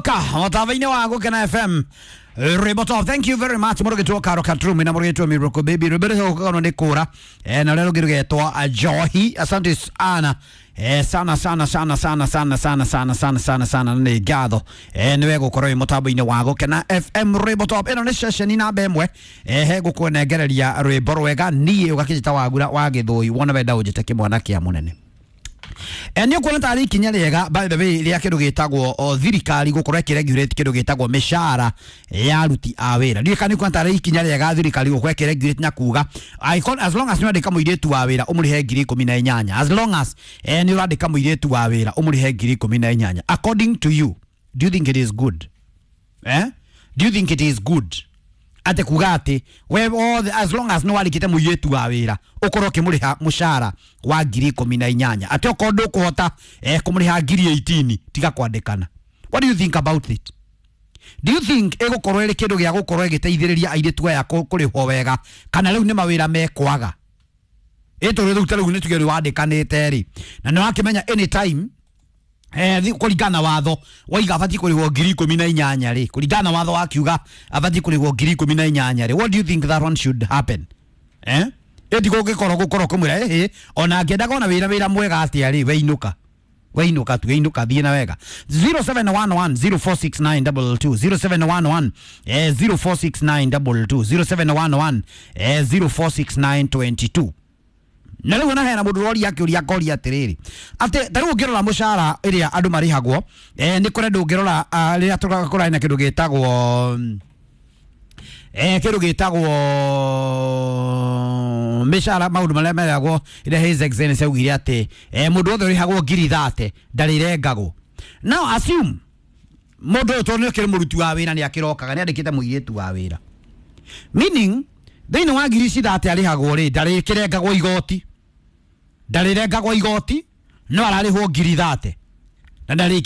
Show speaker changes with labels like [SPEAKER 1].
[SPEAKER 1] Woka mũtambo-inĩ wa Gũkena FM Rwĩmbo top. Thank you very much. Mũrũgĩtwo Karo Katrumi na mũrũgĩtwo Miroko Baby. Rwĩmbo rũgũkagwo nĩ kũra na rũrĩa rũngĩ rũgetwo Johi. Asante sana sana sana sana sana sana sana sana sana sana sana nĩ ngatho nĩwe gũkorwo wĩ mũtambo-inĩ wa Gũkena FM Rwĩmbo top. Ĩno nĩ ceceni namba ĩmwe he gũkũnengereria rwĩmbo rwega niĩ ũgakĩnjĩta Wagura wa Gĩthũi wona wenda ũnjĩte kĩmwana kĩa mũnene. Nĩ ũkuona tarĩ ikinya rĩega, by the way, rĩa kĩndũ gĩtagwo thirikari gũkorwo ĩkĩregulate kĩndũ gĩtagwo mĩcara ya aruti a wĩra. Ndiũĩ kana nĩ ũkuona tarĩ ikinya rĩega thirikari gũkorwo ĩkĩregulate na kuga as long as nĩ ũrandĩka mũirĩtu wa wĩra ũmũrĩhe 18,000, as long as nĩ ũrandĩka mũirĩtu wa wĩra ũmũrĩhe 18,000. According to you, do you think it is good? Do you think it is good ate kuga ati we othe as long as nĩ warĩkĩte mũirĩtu wa wĩra ũkorwo ũkĩmũrĩha mũcara wa 18,000, atĩ okorwo ndũkũhota kũmũrĩha 18,000 tiga kwandĩkana? What do you think about it? Do you think ĩgũkorwo ĩrĩ kĩndũ gĩa gũkorwo ĩgĩteithĩrĩria airĩtu aya kũrĩhwo wega, kana rĩu nĩ mawĩra mekwaga? Ĩtũrĩ rĩu ta rĩu nĩ tuge rĩu wandĩkanĩte rĩ, na nĩ wakĩmenya anytime kũringana na watho waiga abatiĩ kũrĩhwo 18,000 rĩ, kũringana na watho wakiuga abatiĩ kũrĩhwo 18,000 rĩ, what do you think that one should happen? Ĩti gũgĩkorwo gũkorwo kũmwĩra ĩhĩ ona angĩendaga ona wĩra mwega atĩa rĩ, weinũka weinũka tu, weinũka thiĩ na wega. 0711046922, 0711 046922, 0711 046922. Na rĩu ona hena mũndũ ũroria akĩũria akoria atĩrĩrĩ, atĩ ta rĩu ũngĩrora mũcara ĩrĩa andũ marĩhagwo, nĩ kũrĩ andũ ũngĩrora rĩrĩa tũkũrarĩ na kĩndũ gĩtagwo kĩndũ gĩtagwo mĩcara, maũndũ marĩa meragwo ĩrĩa His Excellency augire atĩ mũndũ wothe ũrĩhagwo 30,000 ndarĩrengagwo. Now assume mũndũ ũyũ tondũ nĩ akĩrĩ mũruti wa wĩra, nĩ akĩrokaga nĩ andĩkĩte mũirĩtu wa wĩra, meaning thĩinĩ wa ngiri ici thate arĩhagwo rĩ, ndarĩkĩrengagwo igoti, ndarĩrengagwo igoti, no ararĩhwo 30,000 na ndarĩkĩrengagwo.